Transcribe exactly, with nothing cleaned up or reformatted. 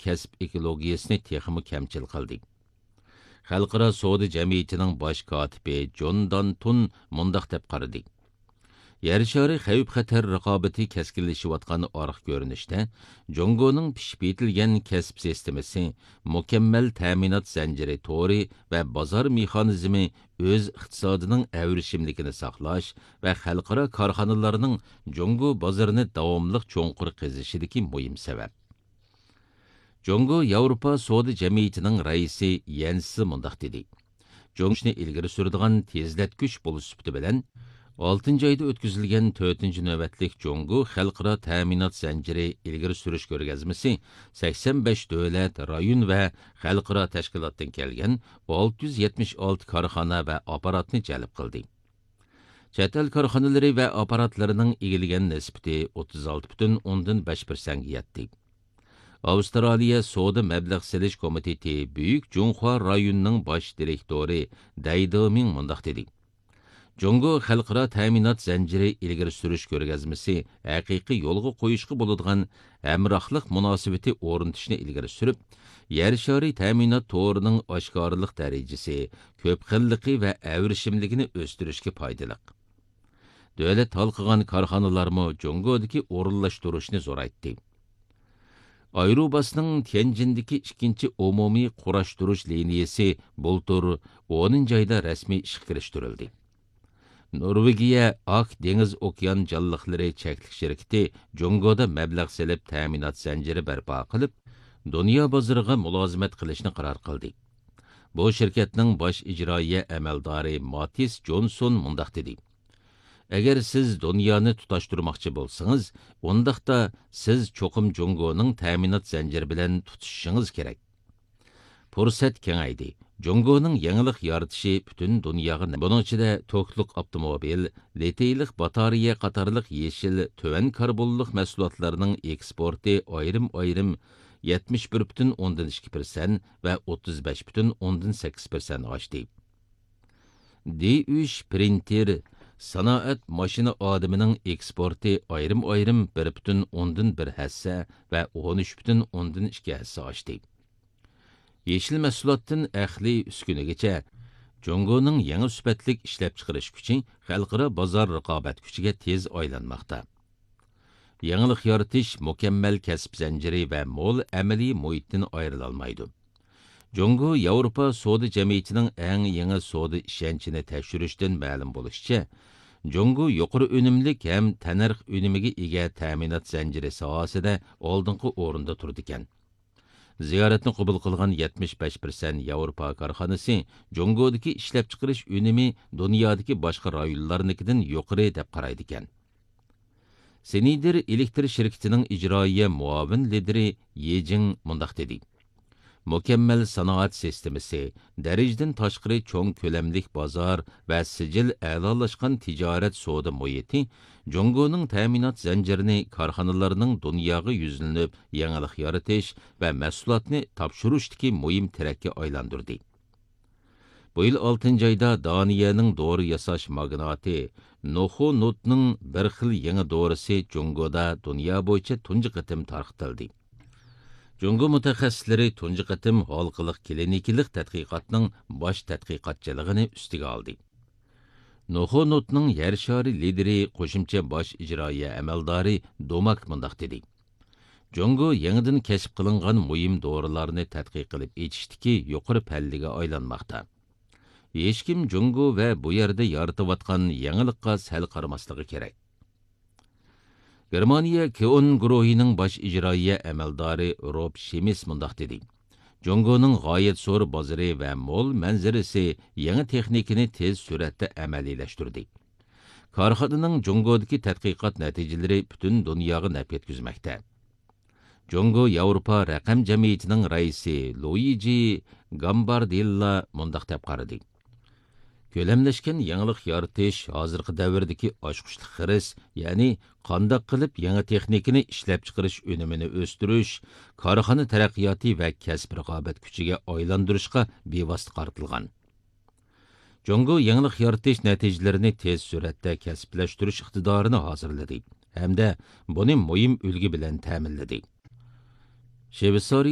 كەسىپ ئېكولوگىيىسىنى تېخىمۇ كەمچىل قىلدى. خەلقئارا سودا جەمئىيىتىنىڭ باش كاتىپى جون دانتون مۇنداق دەپ قارىدى: يەر شارى خەۋپ-خەتەر رىقابىتى كەسكىنلىشىۋاتقان ئارقا كۆرۈنۈشتە، جۇڭگونىڭ پىشىپ يېتىلگەن كەسىپ سىستېمىسى، مۇكەممەل تەمىنات زەنجىرى تورى ۋە بازار مېخانىزمى ئۆز ئىقتىسادىنىڭ ئەۋرىشىملىكىنى ساقلاش ۋە خەلقئارا كارخانىلارنىڭ جۇڭگو بازىرىنى داۋاملىق چوڭقۇر قېزىشىدىكى مۇھىم سەۋەب. جۇڭگو ياۋروپا سودا جەمئىيىتىنىڭ رەئىسى يەنسى مۇنداق دېدى: جۇڭگونى ئىلگىرى سۈرىدىغان تېزلەتكۈچ بولۇش سۈپىتى بىلەن، ئالتىنچى ئايدا ئۆتكۈزۈلگەن تۆتىنچى نۆۋەتلىك جۇڭگو خەلقئارا تەمىنات زەنجىرى ئىلگىرى سۈرۈش كۆرگەزمىسى سەكسەن بەش دۆلەت، رايون ۋە خەلقئارا تەشكىلاتتىن كەلگەن ئالتە يۈز يەتمىش ئالتە كارخانا ۋە ئاپپاراتنى جەلپ قىلدى. چەت ئەل كارخانىلىرى ۋە ئاپپاراتلىرىنىڭ ئىگىلىگەن نىسبىتى ئوتتۇز ئالتە پۈتۈن ئوندىن بەش پىرسەنتكە يەتتى. ئاۋسترالىيە سودا مەبلەغ سېلىش كومىتېتى بۈيۈك جۇڭخۇا رايونىنىڭ باش دىرېكتورى دەي دېمىڭ مۇنداق دېدى: جۇڭگو خەلقئارا تەمىنات زەنجىرى ئىلگىرى سۈرۈش كۆرگەزمىسى ھەقىقىي يولغا قويۇشقا بولىدىغان ھەمراھلىق مۇناسىۋىتى ئورنىتىشنى ئىلگىرى سۈرۈپ، يەر شارى تەمىنات تورىنىڭ ئاشكارىلىق دەرىجىسى، كۆپ خىللىقى ۋە ئەۋرىشىملىكىنى ئۆستۈرۈشكە پايدىلىق. دۆلەت ھالقىغان كارخانىلارمۇ جۇڭگودىكى ئورۇنلاشتۇرۇشنى زورايتتى. ئايروباسنىڭ تيەنجىندىكى ئىككىنچى ئومۇمىي قۇراشتۇرۇش لىنىيىسى بۇلتۇر ئونىنچى ئايدا رەسمىي ئىشقا كىرىشتۈرۈلدى. نورۋېگىيە ئاك دېڭىز ئوكيان جانلىقلىرى چەكلىك شىركىتى جۇڭگودا مەبلەغ سېلىپ تەمىنات زەنجىرى بەرپا قىلىپ، دۇنيا بازىرىغا مۇلازىمەت قىلىشنى قارار قىلدى. بۇ شىركەتنىڭ باش ئىجرائىيە ئەمەلدارى ماتىس جونسون مۇنداق دېدى: ئەگەر سىز دۇنيانى تۇتاشتۇرماقچى بولسىڭىز، ئۇنداقتا سىز چوقۇم جۇڭگونىڭ تەمىنات زەنجىرى بىلەن تۇتىشىشىڭىز كېرەك. پۇرسەت كېڭەيدى. جۇڭگونىڭ يېڭىلىق يارىتىشى پۈتۈن دۇنياغا، بۇنىڭ ئىچىدە توكلۇق ئاپتوموبىل، لىتىيلىق باتارېيە قاتارلىق يېشىل، تۆۋەن كاربونلۇق مەھسۇلاتلارنىڭ ئېكسپورتى ئايرىم-ئايرىم يەتمىش بىر پۈتۈن ئوندىن ئىككى پىرسەنت ۋە ئوتتۇز بەش پۈتۈن ئوندىن سەككىز پىرسەنت ئاشتى. دى ئۈچ پرىنتېر، سانائەت ماشىنا ئادىمىنىڭ ئېكسپورتى ئايرىم-ئايرىم بىر پۈتۈن ئوندىن بىر ھەسسە ۋە ئون ئۈچ پۈتۈن ئوندىن ئىككى ھەسسە ئاشتى. يېشىل مەھسۇلاتتىن ئەقلىي ئۈسكۈنىگىچە، جۇڭگونىڭ يېڭى سۈپەتلىك ئىشلەپچىقىرىش كۈچى خەلقئارا بازار رىقابەت كۈچىگە تېز ئايلانماقتا. يېڭىلىق يارىتىش مۇكەممەل كەسىپ زەنجىرى ۋە مول ئەمەلىي مۇھىتتىن ئايرىلالمايدۇ. جۇڭگو ياۋروپا سودا جەمئىيىتىنىڭ ئەڭ يېڭى سودا ئىشەنچىنى تەكشۈرۈشتىن مەلۇم بولۇشىچە، جۇڭگو يۇقىرى ئۈنۈملۈك ھەم تەننەرخ ئۈنۈمىگە ئىگە تەمىنات زەنجىرى ساھەسىدە ئالدىنقى ئورۇندا تۇرىدىكەن. زىيارەتنى قوبۇل قىلغان يەتمىش بەش پىرسەنت ياۋروپا كارخانىسى جۇڭگودىكى ئىشلەپچىقىرىش ئۈنۈمى دۇنيادىكى باشقا رايونلارنىڭكىدىن يۇقىرى دەپ قارايدىكەن. سىنىدېر ئېلېكتر شىركىتىنىڭ ئىجرائىيە مۇئاۋىن لىدىرى يې جىڭ مۇنداق دېدى: مۇكەممەل سانائەت سىستېمىسى، دەرىجىدىن تاشقىرى چوڭ كۆلەملىك بازار ۋە سىجىل ئەلالاشقان تىجارەت سودا مۇھىتى جۇڭگونىڭ تەمىنات زەنجىرىنى كارخانىلارنىڭ دۇنياغا يۈزلىنىپ يېڭىلىق يارىتىش ۋە مەھسۇلاتنى تاپشۇرۇشتىكى مۇھىم تىرەككە ئايلاندۇردى. بۇ يىل ئالتىنچى ئايدا دانىيەنىڭ دورا ياساش ماگناتى نوخو نوتنىڭ بىر خىل يېڭى دورىسى جۇڭگودا دۇنيا بويىچە تۇنجى قېتىم تارقىتىلدى. جۇڭگو مۇتەخەسسىسلىرى تۇنجى قېتىم ھالقىلىق كلىنىكىلىق تەتقىقاتنىڭ باش تەتقىقاتچىلىقىنى ئۈستىگە ئالدى. نوخو نوتنىڭ يەر شارى لىدىرى، قوشۇمچە باش ئىجرائىيە ئەمەلدارى دوماك مۇنداق دېدى: جۇڭگو يېڭىدىن كەشىپ قىلىنغان مۇھىم دورىلارنى تەتقىق قىلىپ ئېچىشتىكى يۇقىرى پەللىگە ئايلانماقتا. ھېچكىم جۇڭگو ۋە بۇ يەردە يارىتىۋاتقان يېڭىلىققا سەل قارىماسلىقى كېرەك. گېرمانىيە كېئون گۇرۇھىنىڭ باش ئىجرائىيە ئەمەلدارى روب شىمىس مۇنداق دېدى: جۇڭگونىڭ غايەت زور بازىرى ۋە مول مەنزىرىسى يېڭى تېخنىكىنى تېز سۈرئەتتە ئەمەلىيلەشتۈردى. كارخانىنىڭ جۇڭگودىكى تەتقىقات نەتىجىلىرى پۈتۈن دۇنياغا نەپ يەتكۈزمەكتە. جۇڭگو ياۋروپا رەقەم جەمئىيىتىنىڭ رەئىسى لۇيىجى گامباردېللا مۇنداق دەپ قارىدى: كۆلەملەشكەن يېڭىلىق يارىتىش ھازىرقى دەۋردىكى ئاچقۇچلۇق خىرىس، يەنى قانداق قىلىپ يېڭى تېخنىكىنى ئىشلەپچىقىرىش ئۈنۈمىنى ئۆستۈرۈش، كارخانا تەرەققىياتى ۋە كەسىپ رىقابەت كۈچىگە ئايلاندۇرۇشقا بىۋاسىتە قارىتىلغان. جۇڭگو يېڭىلىق يارىتىش نەتىجىلىرىنى تېز سۈرئەتتە كەسىپلەشتۈرۈش ئىقتىدارىنى ھازىرلىدى ھەمدە بۇنى مۇھىم ئۈلگە بىلەن تەمىنلىدى. شۋېتسارىيە